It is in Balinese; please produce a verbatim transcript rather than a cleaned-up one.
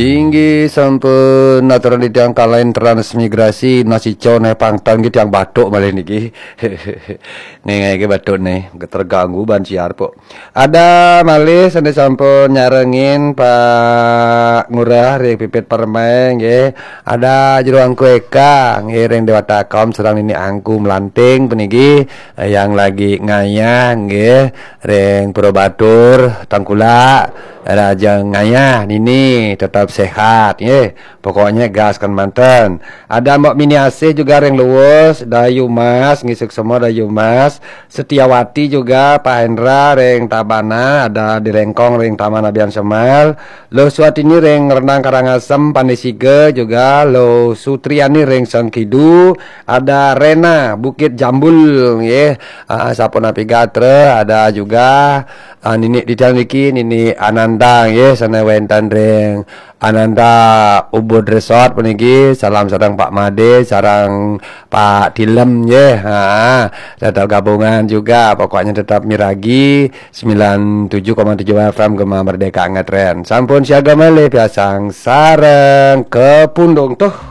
Inggih sampun, aturang titiang kalahin transmigrasi, nasi con, eh, pangtan nggih tiang batuk malih niki. Nih, nggih batuk nih, terganggu ban siar pok. Ada malih sané sampun nyarengin Pak Ngurah ring Pipit Permai nggih. Ada Jero Angku Eka nggih ring Dewata Kaum sareng Nini Angku Melanting puniki, eh, yang lagi ngayah nggih ring Pura Batur Tengkulak. Raja ngayah nini tetap sehat nggih. Pokoknya gaskan manten. Ada Mbok Mini Asih juga ring Luwus, Dayu Mas, nggih suksma Dayu Mas. Setiawati juga, Pak Hendra ring Tabanan, ada di Lengkong ring Taman Abian Semal. Luh Suatini ring Rendang Karangasem, Pandai Siga juga, Luh Sutriani ring Sengkidu, ada Rena Bukit Jambul nggih. Ah, sapunapi gatra, ada juga, ah, Nini titiang niki, Nini Ananda nggih, sané wénten ring Ananda Ubud Resort puniki, salam sareng Pak Made, sareng Pak Tilem nggih. Ha, tetap gabungan juga, pokoknya tetap miragi sembilan tujuh koma tujuh F M Gema Merdeka Ngetren. Sampun siaga malih piasang sareng Kepundung tuh.